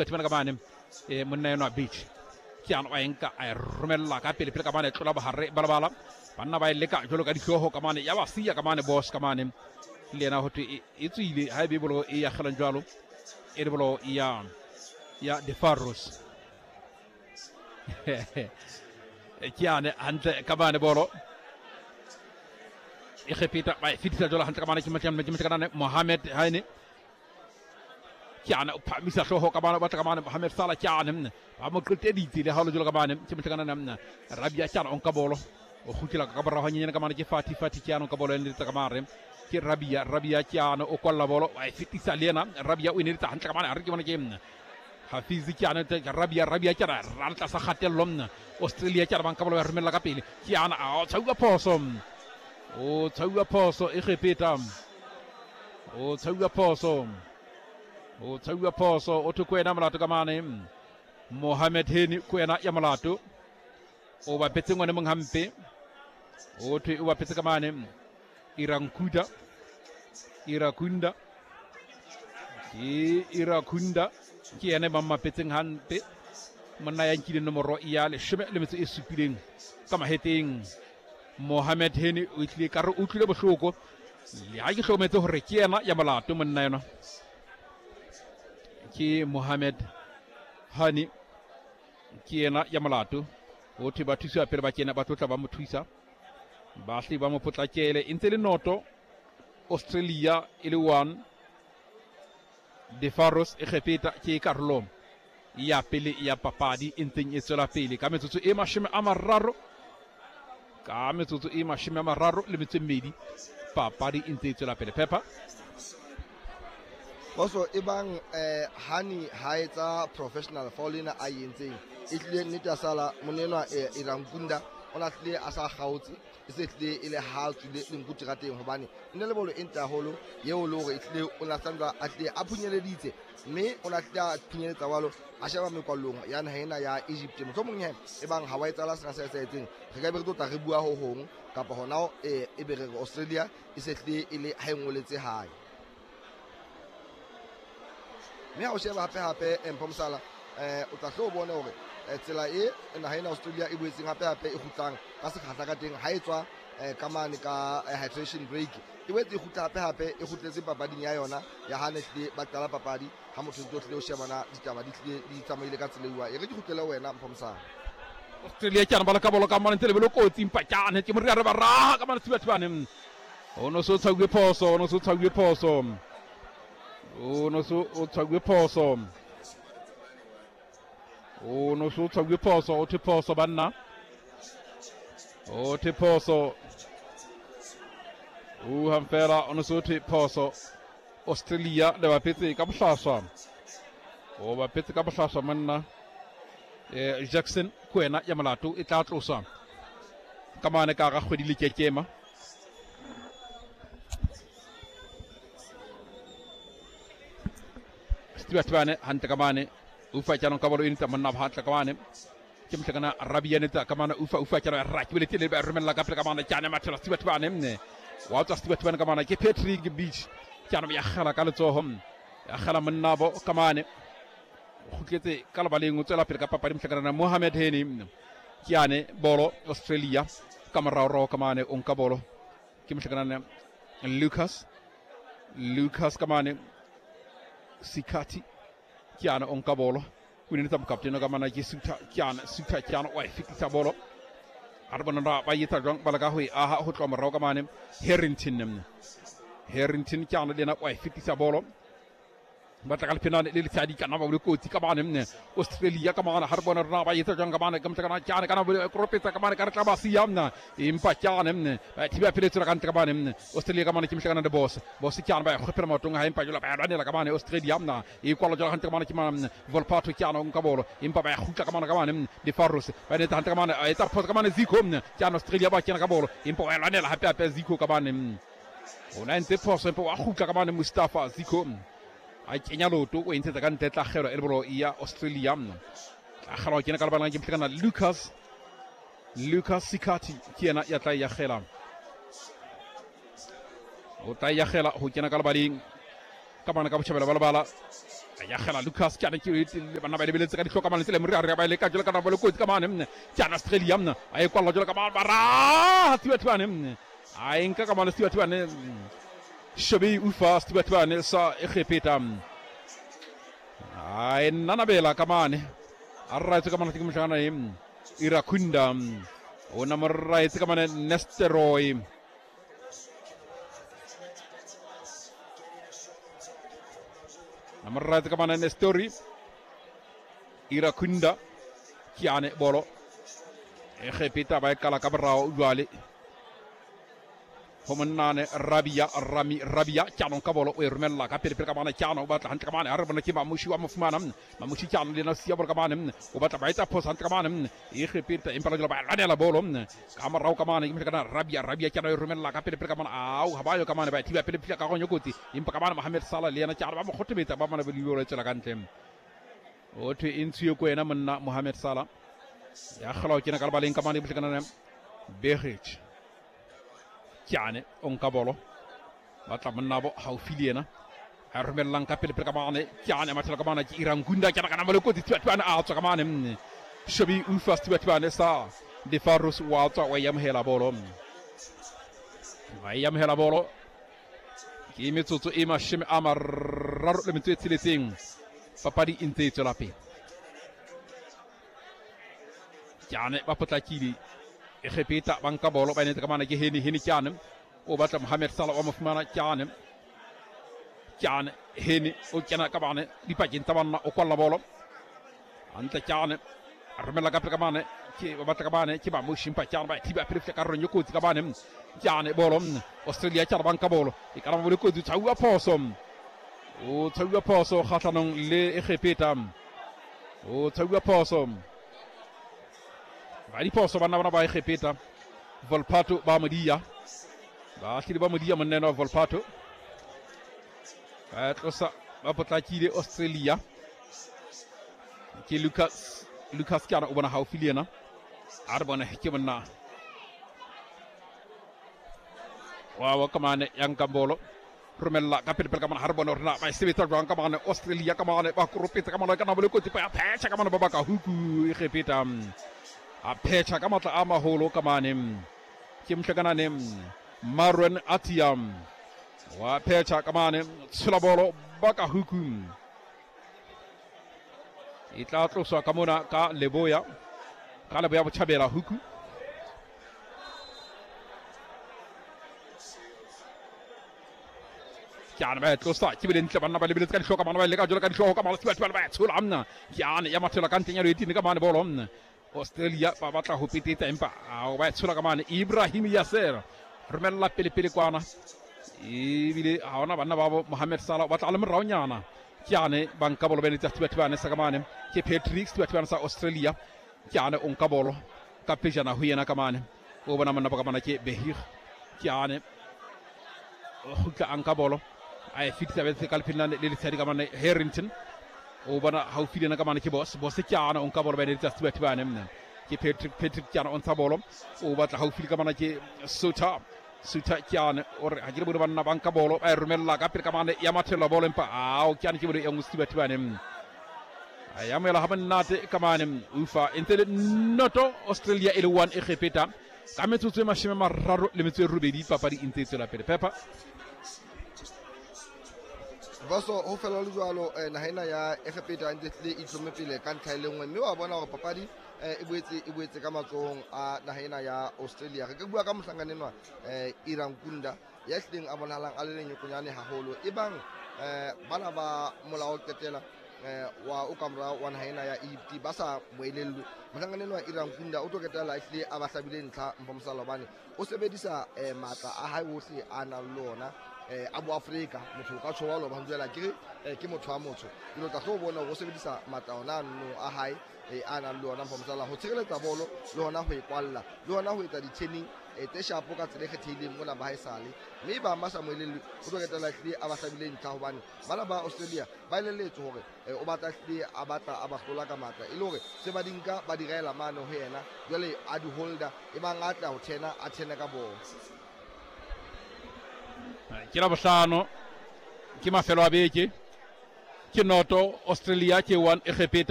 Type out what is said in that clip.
Thibana ka mane monna enwa Beach ke yana wa enka a e romella ka pele pele ka mane tlola bohare balabala banna ba e leka jalo ka dihlooho ka mane ya ba siya ka mane boss ka mane le yena ho thwe e tswile ha e be bolo e yagelang jalo e le bolo ya ya De Faros ke yane hantle ka mane bolo e gepeta ba e fetisa jalo hantle ka mane ke motlane Mohamed Haine Kyane o phahamisa hlooho ka mane o batla ka mane Mohamed Salah Kyane ba mo qeteditse le ha o le jalo ka mane ke motlakana mna Rabia Kyane o nka bolo o kgutlela ka morago hanyenyane ka mane ke Fati Fati Kyane o nka bolo e neletsa ka mare ke Rabia Rabia Kyane o kwalla bolo wa e fetisa le yena Rabia o e neletsa hantle ka mane a re ke bona ke Hafizi Kyane Rabia Rabia Kyane ra le tlasa kgatello mna Australia Kyane ba nka bolo ba romella ka pele Kyane a o tshauwa phoso o tshauwa phoso e gepeta o tshauwa phoso o tshauwa phoso o thwe kwena molato ka mane Mohamed Heni kwena ya molato o bapetse ngwane mong hampe o thwe o bapetse ka mane Irankuda Irakunda ke Irakunda ke yena ba mmapetseng hampe monna ya nkileng nomoro ya 17 ka maheteng Mohamed Heni o tlile ka re o utlwile bohloko le ha ke hlokometse hore ke yena ya molato monna yona ke Mohamed Hani ke yena ya molato o thwe ba thusiwa pele ba kena ba tlotla ba mo thusa ba hle ba mo potlakele e ntse le noto Australia e le 1 De Faros e Egepeta ke karolo ya pele ya papadi e ntseng e tswela pele ka metsotso e 30 ka metsotso e 32 papadi e ntse e tswela pele Pepper. Boso e bang Hani ha etsa professional foul ena a entseng e tlile nnete ya sala monenwa Irankunda o na tlile a sa kgaotse e se tlile e le ha tswile lenku terateng hobane e ne le bolo e ntle haholo eo le hore e tlile o na santsa a tlile a phunyeleditse mme o na tlile a phunyeletsa walo a sheba mekwallong ya naha ena ya Egypt mohlomong he e bang ha wa etsala sena se etsahetseng re ka be re tlo tla re bua ho hong kapa hona e be re re Australia e se tlile e le ha e ngoletse hae mme ha o sheba hape hape Mpho Mosala o tla hlo o bone hore tsela e naha ena Australia e boetseng hape hape e kgutlang ka sekgahla ka teng ha e tswa ka mane ka hydration break e boetse e kgutla hape hape e kgutletse papading ya yona ya ha ne tlile ba qala papadi ha motho ntse o tlile o shebana ditaba di tlile di tsamaile ka tsela eo e re ke kgutlele wena Mpho Mosala Australia ke ba ka bolo ka mane ntse lebelo kotsi empa ke ke moriare ba raha ka mane thibathibane o no so tshauwe phoso o no so tshauwe phoso o no so o tshauwe phoso o no so tshauwe phoso o thwe phoso banna o thwe phoso o hamfela o no so thwe phoso Australia le bapetse ka bohlaswa o bapetse ka bohlaswa monna Jackson ke wena ya molato e tla tloswa ka mane ka ga kgwedi le kekema Stewart hantle ka mane ufa tjano ka bolo e nitsa monna ba hantle ka mane ke mohlakana Rabia nitsa ka mane ufa ufa tjano ra ke beletse le ba romella ka pele ka mane tjane mathela Stewart bane mne wa tswa Stewart bane ka mane ke Patrick Beach tjano ya gela ka letsoho ya gela monna bo ka mane o kgutletse ka lebaleng o tswela pele ka papadi mohlakana Mohamed Heni ke yane bolo Australia ka moraorao ka mane o nka bolo ke mohlakana Lucas Lucas ka mane Sikati ke yane o nka bolo o inetsa mokaptene ka mana ke Suta ke yane Suta ke yane wa e fetisa bolo a re bona ba etsa jwang ba leka ho e aha ho tloha morao ka mane Harrington Harrington ke yane le yena wa e fetisa bolo ba tla ka lephenane le letshadi kana ba bole kotsi ka mane mne Australia ka mane ha re bona rona ba etsa jwang ka mane ka motlakana tjane kana bole koropetsa ka mane ka re tla ba siya mna empa tjane mne ba thiba pele tsela ka ntle ka mane mne Australia ka mane ke motlakana le boss boss tjane ba kgopela maotong ha empa jalo ba lwanela ka mane Australia mna e kwalo jalo hantle ka mane ke mane Volpato tjane o nka bolo empa ba kgutla ka mane ka mane De Faros ba netsa hantle ka mane a etsa phoso ka mane Zico mne tjane Australia ba kena ka bolo empa ba lwanela hape hape Zico ka mane o na entse phoso empa wa kgutla ka mane Mustafa Zico a kenya loto o e ntshetsa ka ntle tla kgelwa e le bolo ya Australia tla kgelwa kena ka lebalang ke mohlakana Lucas Lucas Sikati ke yena ya tla ya kgela o tla ya kgela ho kena ka lebaleng ka bana ka botjhabela ba lebala Ya kgela Lucas ke ane ke bana ba lebeletse ka ditlhoka mane tsele morare ba leka jalo ka nako le kotsi ka mane mne ke ana Australia mne a e kwalla jalo ka mane bara Stewart bane mne a e nka ka mane Stewart bane Shobe ufa Stewart bane sa Egepeta a e nanabela ka mane a raetse ka mane ke mohlangana e Irakunda o na mo raetse ka mane Nesteroy Namorratse ka manane story Irakunda Kiane bolo Egepeta ba e kala ka borao jwale go monnane Rabia Rami Rabia Tjano ka bolo o e romella ka pele pele ka mane Tjano o batla hantle ka mane ha re bona ke Mamushi wa mo fumana Mamushi Tjano le yena o siya bolo ka mane o batla ba etsa phoso hantle ka mane Egepeta empa la jwale ba lwanela bolo ka morao ka mane ke mohlakana Rabia Rabia Tjano e romella ka pele pele ka mane au ha ba yo ka mane ba e thiba pele phila ka gonyo kotsi empa ka mane Mohamed Salah le yena Tjano ba mo kgothometsa ba mane ba libolo tswela ka ntle o thwe e ntshiwe ko yena monna Mohamed Salah ya kgola o kena ka lebaleng ka mane mohlakana Begic Tjane o nka bolo ba tla monna bo haufi le yena a romellang ka pele pele ka mane Tjane a mathela ka mane ke Irangunda ke kana mole kotsi Thibathibane a tswa ka mane Shobi ufa Thibathibane sa Defarus wa tswa wa yamohela bolo wa yamohela bolo ke metsotso e 36 papadi e ntse e tswela pele Tjane ba potlakile Egepeta ba nka bolo ba enetse ka mane ke Heni Heni Tjane o batla Mohamed Salah wa mo fumana Tjane Tjane Heni o kena ka mane dipakeng tsa banna o kwalla bolo hantle Tjane a romella ka pele ka mane ke ba batla ka mane ke ba mo shimpa Tjane ba thiba pele fihla karolong e kotsi ka mane Tjane bolo Australia Tjane ba nka bolo e ka ba le kotsi tshauwa phoso o tshauwa phoso kgahlanong le Egepeta o tshauwa phoso ba diphoso banna bana ba Egepeta Volpato ba modia ba hlile ba modia monna wa Volpato ba tlosa ba potlakile Australia ke Lucas Lucas ke ana o bona haufi le yena a re bone ke monna wa wa kamane ya nkang bolo romella ka pele pele ka mane ha re bone hore na ba e sebetsa jwang ka mane Australia ka mane ba koropetsa ka mane ka nabo le kotsi ba phetšha ka mane ba baka huku Egepeta a phetšha ka matla a maholo ka mane ke mohlakanane Marwan Atia wa phetšha ka mane tshola bolo baka huku e tla tloswa ka mona ka leboya ka leboya botjhabela huku ke ane ba e tlosa ke bile ntle banna ba lebeletse ka dihlooho ka mane ba leka jalo ka dihlooho ka mane ba ba tshola mna ke ane ya mathela ka ntleng ya loetini ka mane bolo mna Australia ba batla ho petetsa empa ao ba e tshola ka mane Ibrahim Yasser romella pele pele kwana ebile ha ona banna ba bo Mohamed Salah o batla a le moraonyana ke ane ba nka bolo ba eletsa Thibathibane sa ka mane ke Patrick Thibathibane sa Australia ke ane o nka bolo ka pejana ho yena ka mane o bona monna ba ka mane ke Behir ke ane o kgutla a nka bolo a e fetisa betse ka lepheng le letshadi ka mane Harrington o bona haufi le yena ka mane ke Boss Boss ke ane o nka bolo ba eletsa Thibathibane mne ke Patrick Patrick ke ane o ntsha bolo o batla haufi le ka mane ke Suter Suter ke ane o re ha ke le bone banna ba nka bolo ba e romella ka pele ka mane ya mathella bolo empa ao ke ane ke bolo e nngwe Thibathibane mne a ya moela ga monate ka mane ufa e ntse le noto Australia e le 1 Egepeta ka metsotso e 38 papadi e ntse e tswela pele Pepper Vaso ho fela le jwalo naha ena ya Egepeta e ntse tlile e itlhomme pele ka ntlha e le nngwe mme wa bona hore papadi e boetse ka matsohong a naha ena ya Australia. Re ka bua ka mohlankana enwa Irankunda ya hlileng a bonahalang a le lenyokonyane haholo e bang bana ba molao qetela wa o ka morao wa naha ena ya Egypt ba sa moelellwe. Mohlankana enwa Irankunda o tlo qetella a hlile a ba hlabile ntlha Mpho Mosala hobane o sebedisa matla a hae ohle a nang le ona a boAfrika. Motho o ka tjho wa loba jwela ke re ke motho wa motho jwale o tla tlo bona hore o sebedisa matla ona no a hae a nang le ona Mpho Mosala ho tshireletsa bolo le hona ho e kwalla le hona ho etsa di-turning tse shapo ka tsela e kgethehileng mona ba haesale mme ba ba sa moelellwe o tlo qetella hlile a ba hlabile ntlha hobane bana ba Australia ba elelletswe hore o batla hlile a batla a ba hlola ka matla e le hore se ba di nka ba di raela mane ho yena jwale a di holder e bang a tla ho thena a thene ka bolo. Ke la bohlano ke mafelo a beke Ke noto Australia, ke 1 Egepeta.